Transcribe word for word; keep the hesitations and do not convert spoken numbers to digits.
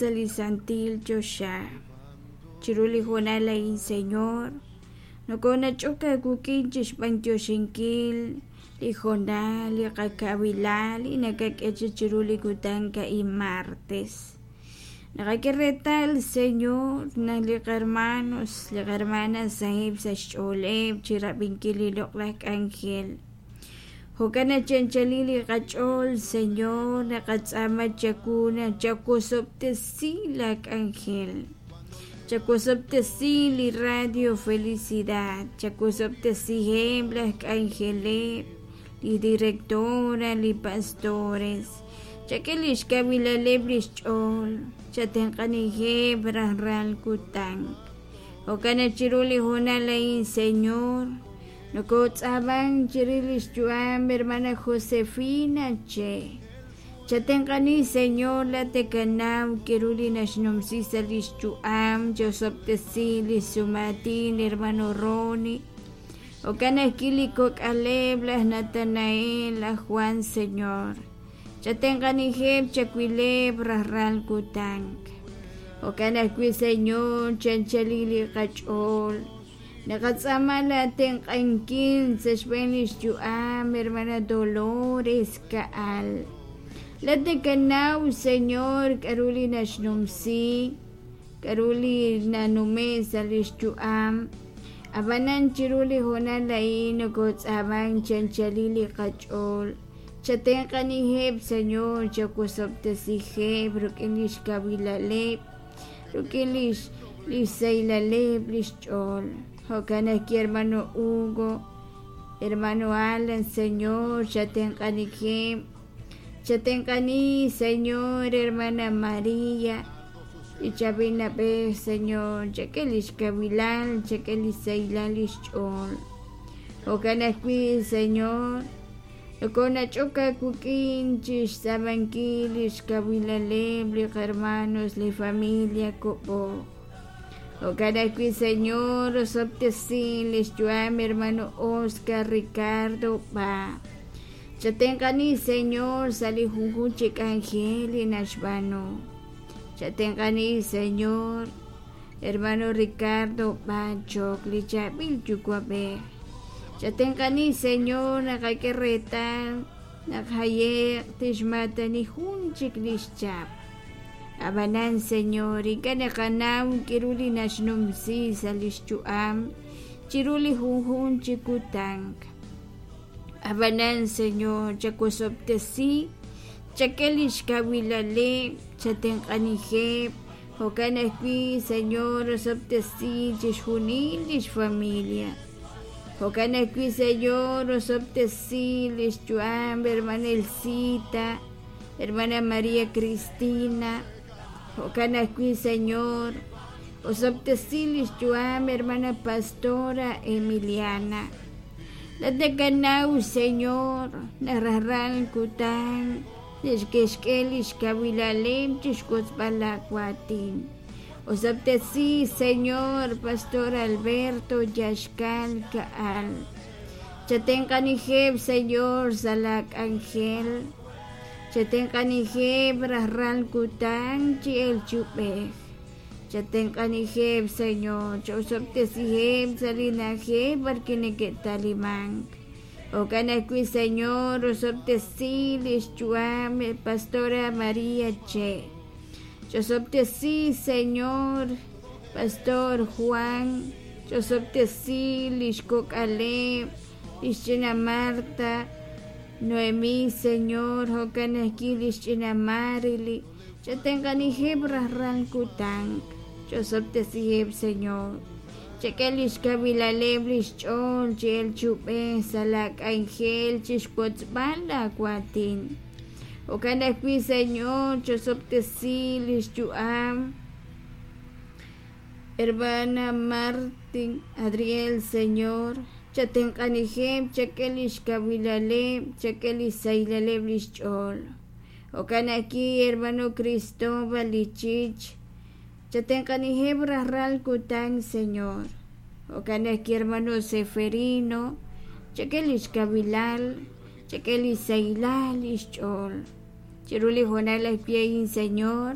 Sa' li santil choxa chiru li hoonal a'in Señor nokonach'ok aawik'in chixb'antioxinkil li hoonal li qakawilal li nakak'e cha chiru li kutan a'in martes naqak'e reetal Señor naq li qahermanos li qahermanas saheb' sa' xch'ooleb' chirab'inkil li loq'laj k'anjel jo'kan naq chi anchalil li qach'ool Señor naqatz'aama chawu naq chawosob'tesi la k'anjel chawosob'tesi li radio Felicidad chawosob'tesiheb' laj k'anjeleb' li directora li pastores chak'e lix kawilaleb' lix ch'ool chatenq'aniheb' rajlal kutan jo'kan naq chiru li hoonal a'in Señor nokotz'aaman chirix lix yu'am hermana Josefina Che chatenq'ani Señor laat nakanaw k'aru li naxnumsi sa' lix yu'am chaosob'tesi li xsumaatin hermano Ronnie jo'kan ajwi' li kok'aleb' laj Natanael laj Juan Señor chatenq'aniheb' chawileb' rajlal kutan jo'kan ajwi' Señor chi anchalil li qach'ool naqatz'aama la tenq'ankil sa' xb'een lix yu'am hermana Dolores Ka'al laat nakanaw Señor k'aru li naxnumsi k'aru li nanume' sa' lix yu'am ab'anan chiru li hoonal a'in nokotz'aaman chi anchalil li qach'ool chatenq'aniheb' Señor chawosob'tesiheb' rik'in lix kawilaleb' rik'in lix lix sahilaleb' lix ch'ool jo'kan ajwi' hermano Hugo hermano Alan Señor chatenq'aniheb' chatenq'ani Señor hermana María li chaab'il na'b'ej Señor chak'e lix kawilal chak'e lix sahilal lix ch'ool jo'kan ajwi' Señor nokonach'ok aawik'in chixtz'aamankil lix kawilaleb' li qahermanos li familia Ko'b'o jo'kan ajwi' Señor osob'tesi lix yu'am hermano Oscar Ricardo Ba chatenq'ani Señor sa' li junjunq chi k'anjel li naxb'aanu chatenq'ani Señor hermano Ricardo Ba Chok li chaab'il yuwa'b'ej chatenq'ani Señor naqak'e reetal naq haye'q tixmaatani jun chik lix chap ab'anan Señor ink'a' naqanaw k'aru li naxnumsi sa' lix yu'am chiru li junjunq chi kutan ab'anan Señor chawosob'tesi chak'e lix kawilaleb' chatenq'aniheb' jo'kan ajwi' Señor osob'tesi chixjunil lix familia jo'kan ajwi' Señor osob'tesi lix yu'am hermana Elcita hermana María Cristina jo'kan ajwi' Señor osob'tesi lix yu'am hermana Pastora Emiliana laat nakanaw Señor naq rajlal kutan neke'xk'e lix kawilaleb' chixwotzb'al laawatin osob'tesi Señor Pastor Alberto Yaxkal Ka'al chatenq'aniheb' Señor sa' la k'anjel chatenq'aniheb' rajlal kutan chi el chub'ej chatenq'aniheb' Señor chaosob'tesiheb' sa' li na'ajej b'arwi' neke'talimank jo'kan ajwi' Señor osob'tesi lix yu'am Pastora María Che chaosob'tesi Señor Pastor Juan chaosob'tesi lix kok'aleb' lix ch'ina Marta Noemí Señor jo'kan ajwi' lix ch'ina Marily chatenq'aniheb' rajlal kutan chaosob'tesiheb' Señor chak'e lix kawilaleb' lix ch'ool chi el chub'ej sa' la k'anjel chixwotzb'al laawatin jo'kan ajwi' Señor chaosob'tesi lix yu'am hermana Martin Adriel Señor chatenq'aniheb' chak'e lix kawilaleb' chak'e lix sahilaleb' lix ch'ool jo'kan ajwi' hermano Cristóbal Ichich chatenq'aniheb' rajlal kutan Señor jo'kan ajwi' hermano Seferino chak'e lix kawilal chak'e lix sahilal lix ch'ool chiru li hoonal ajwi' a'in Señor